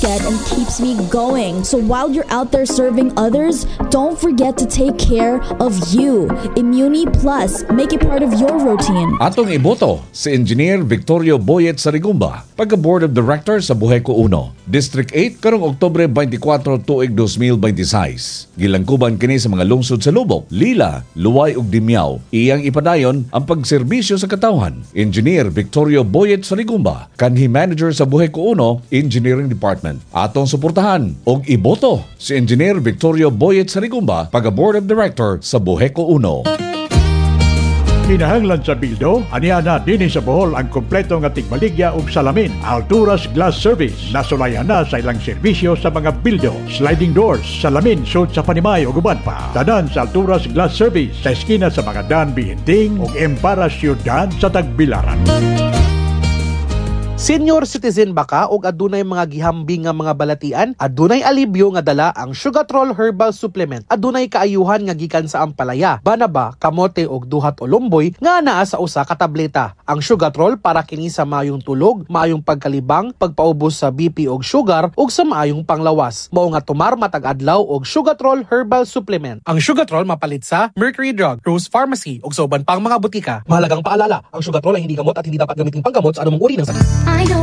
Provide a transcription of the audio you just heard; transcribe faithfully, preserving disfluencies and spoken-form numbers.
Get and keeps me going. So while you're out there serving others, don't forget to take care of you. Immuni Plus, make it part of your routine. Atong iboto si Engineer Victorio Boyet Sarigumba, pagka Board of Directors sa Buheco one, District eight karong Oktubre twenty-four tuig twenty twenty-six. Gilangkuban kini sa mga lungsod sa Loboc, Lila, Loay ug Dimiao. Iyang ipadayon ang pagserbisyo sa katawhan. Engineer Victorio Boyet Sarigumba, kanhi manager sa Buheco one Engineering Department. Atong suportahan og iboto si Engineer Victorio Boyet Sarigumba pagka Board of Director sa Buheco one. Kinahanglan sa bildo, aniya na dinhi sa Bohol ang kompleto nga tigbaligya og salamin. Alturas Glass Service, nasulayan na sa ilang serbisyo sa mga bildo, sliding doors, salamin sud sa panimay ug uban pa. Tanan sa Alturas Glass Service sa eskina sa mga Dan Bihinting ug Empara Siyudad sa Tagbilaran. Senior citizen ba ka og adunay mga gihambing nga mga balatian? Adunay alibyo nga dala ang Sugatrol Herbal Supplement. Adunay kaayuhan nga gikan sa ampalaya, banaba, kamote ug duhat o lumboy nga naa sa usa ka tableta. Ang Sugatrol para kini sa maayong tulog, maayong pagkalibang, pagpaubos sa B P og sugar ug sa maayong panglawas. Mao nga tumar matag adlaw og Sugatrol Herbal Supplement. Ang Sugatrol mapalit sa Mercury Drug, Rose Pharmacy ug sa uban pang mga butika. Mahalagang paalala, ang Sugatrol ay hindi gamot at hindi dapat gamitin panggamot sa anumang uri ng sakit. I know.